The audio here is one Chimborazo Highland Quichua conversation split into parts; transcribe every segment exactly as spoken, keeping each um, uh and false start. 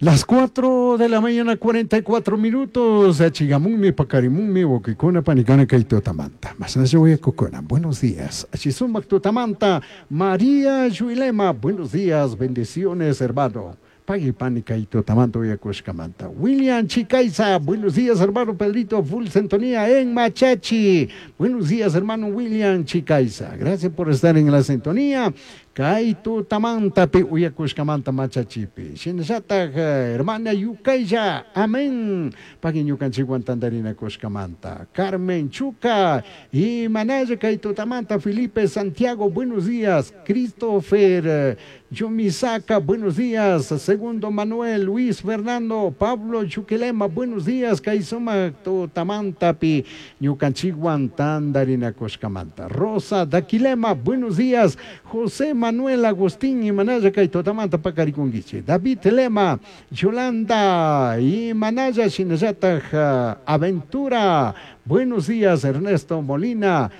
Las cuatro de la mañana, cuarenta y cuatro minutos. Achigamummi, pakarimummi, wawkikuna, panikuna, kay tutamanta. Masnalla uyakukuna. Buenos días. Achisumak tutamanta, María Yuilema. Buenos días, bendiciones, hermano. Pagui pani kay tutamanta uyakushkamanta. William Chicaiza, buenos días, hermano Pedrito, full sintonía en Machachi. Buenos días, hermano William Chicaiza. Gracias por estar en la sintonía. Kay tutamantapi uyakushkamanta Machachipi. Shinallataj, hermana Yukaya, amén. Pagui ñukanchikwan tantarinakushkamanta. Carmen Chuca y Manaya kay tutamanta Felipe Santiago, buenos días. Christopher Yumisaka, buenos días. Segundo Manuel, Luis Fernando, Pablo Chuquilema, buenos días. Kay sumak tutamantapi ñukanchikwan tantarinakushkamanta. Rosa Daquilema, buenos días. José Manuel Agustín y Manaya kay tutamanta pakarikunkichik. David Lema, Yolanda y Manaya shinallataj Aventura, buenos días. Ernesto Molina,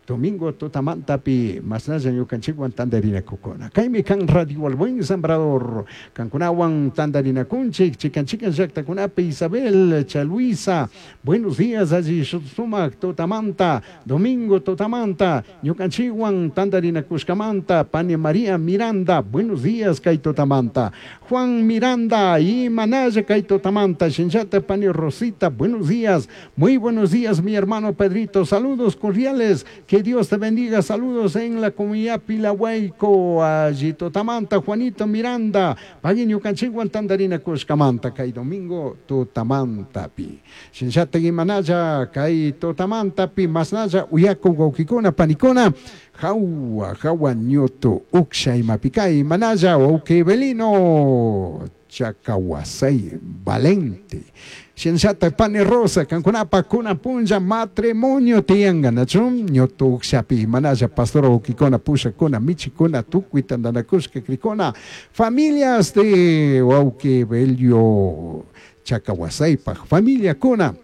Domingo tutamantapi masnalla ñukanchikwan tantarinakukuna. Kaymi kan Radio El Buen Sembrador. Kankunawan tantarinakunchik, chikan chikan llaqtakunapi Isabel Chaluisa. Buenos días, allí sumak tutamanta, Domingo tutamanta, ñukanchikwan tantarinakushkamanta, Pani María Miranda, buenos días kay tutamanta. Juan Miranda y Manaya kay tutamanta, Shinchata Pani Rosita, buenos días. Muy buenos días, mi hermano Pedrito, saludos cordiales. Que Dios te bendiga, saludos en la comunidad Pilahuayco, allí Totamanta, Juanito Miranda, Pagui ñukanchikwan tantarina kushkamanta, kay domingo Totamantapi. Shinchata Manaya, kay Totamantapi, masnalla, uyaku wawkikuna, panikuna, jawa, jawa ñutu, uksha imapikay, Manaya, wawki Belino, Chacahuasay, Valente. Shinchata Pani Rosa, kankunapa kuna punlla matrimonio tianga, nachum, ñutu ukshapi, Manaya, pastor wawkikuna, pushakuna, michikuna, tukuy tantanakushka krikuna, familias de wawki Belio Chacahuasaypaj, familia kuna.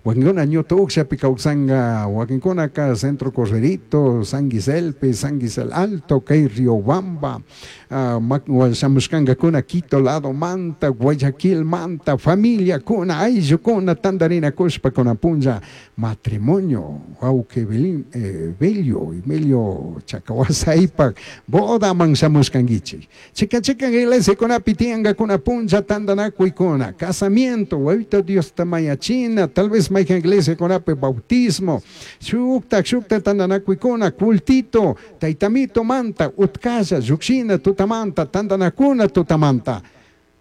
Wakinkuna ñutu ukshapi kawsanga, wakinkunaka Centro Correrito, San Guiselpe, San Guisel Alto, kay Riobamba, uh, shamushkankakuna Quito lado manta, Guayaquil manta, familia kuna, ayllukuna, tantarinakushpa kuna punlla, matrimonio, wawki eh, Belio, Emilio Chacahuasaypaj, bodaman shamushkankichik. Chikan chikan iglesiakunapi tiyankakuna punlla tantanakuykuna, casamiento, wawito Diosta mañachina, tal vez mayhan iglesiakunapi bautismo, shuktak shukta tantanakuykuna, cultito, taytamito manta, utkalla, llukshina tutamanta, tantanakuna tutamanta.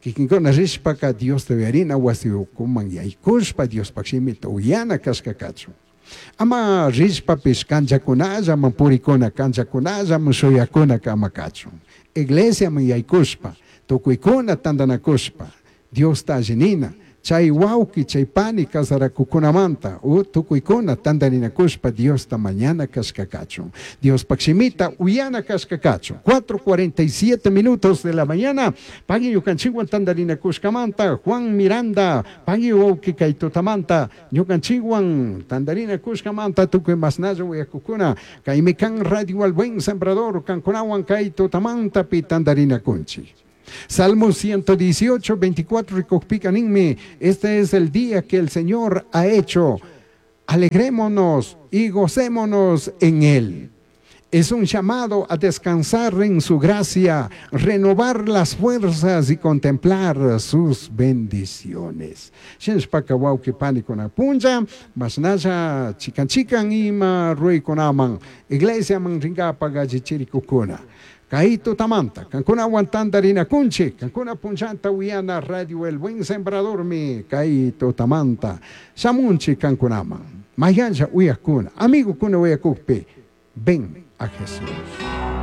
Kikinkuna rishpaka Diosta uyarina wasi ukuman yaykushpa Diospaj shimita uyana kashka kachun. Ama rishpapish kanchakunallaman purikuna, kanchakunallaman shuyakuna kama kachun. Iglesiaman yaykushpa, tukuykuna tantanakushpa, Diosta allinina, chay wawki, chay pani kasarakukunamanta, u tukuykuna tantarinakushpa Diosta mañana kashka kachun. Diospaj shimita uyana kashka kachun. cuatro cuarenta y siete minutos de la mañana, pagui ñukanchikwan tantarinakushkamanta, Juan Miranda, pagui wawki kay tutamanta, ñukanchikwan tantarinakushkamanta, tukuy masnalla uyakukuna, kaymi kan Radio El Buen Sembrador, kankunawan kay tutamantapi tantarinakunchik. Salmo ciento dieciocho, veinticuatro, rikukpika ninmi, este es el día que el Señor ha hecho, alegrémonos y gocémonos en él. Es un llamado a descansar en su gracia, renovar las fuerzas y contemplar sus bendiciones. Shinshpaka wawki panikuna punlla, masnalla chikan chikan ima ruikunaman, iglesia man rinkapa gallichirikukuna. Kay tutamanta, kankuna tantarinakunchik, kankuna punllanta uyana Radio El Buen Sembrador mi, kay tutamanta, shamunchik kankunaman, mayanja uyakuna, amigukuna uyakukpi, ven a Jesús.